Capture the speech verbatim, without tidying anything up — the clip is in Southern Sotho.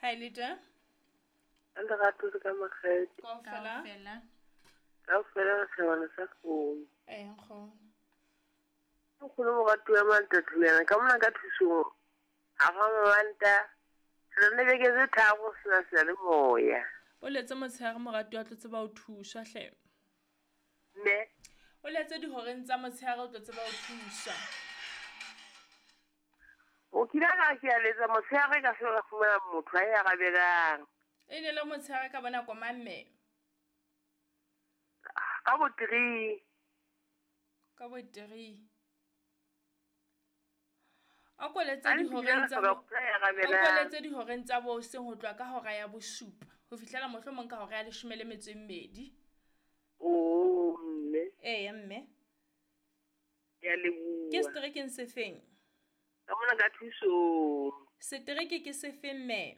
Ha e le teng? Ka lerato le ka makgethe. Kaofela. Kaofela. Kaofela re shebana sa kgomo. Ee, nkgono. Nkgono moratuwa Mantatulana ka mona ka thusong. Ha ra mabanta. Re ne beke tse tharo sena seyalemoya. O letse motshehare moratuwa tlo tseba ho thuswa hle. Mme. O letse dihoreng tsa motshehare o tlo tseba ho thuswa. O kile ka ke a letsa motshehare ka se ka fumana motho a e arabelang. E ne le motshehare ka bona koma mme. Ka bo three. Ka bo three. A ko letse dihoreng tsa bo a ko letse dihoreng tsa bo hoseng ho tloha ka hora ya bosupa ho fihlela mohlomong ka hora ya leshome le metso e mmedi. Oh mme. Eya mme. Ke a leboha. Ke seterekeng se feng? Ka mona ka thusong. Setereke ke se feng mme?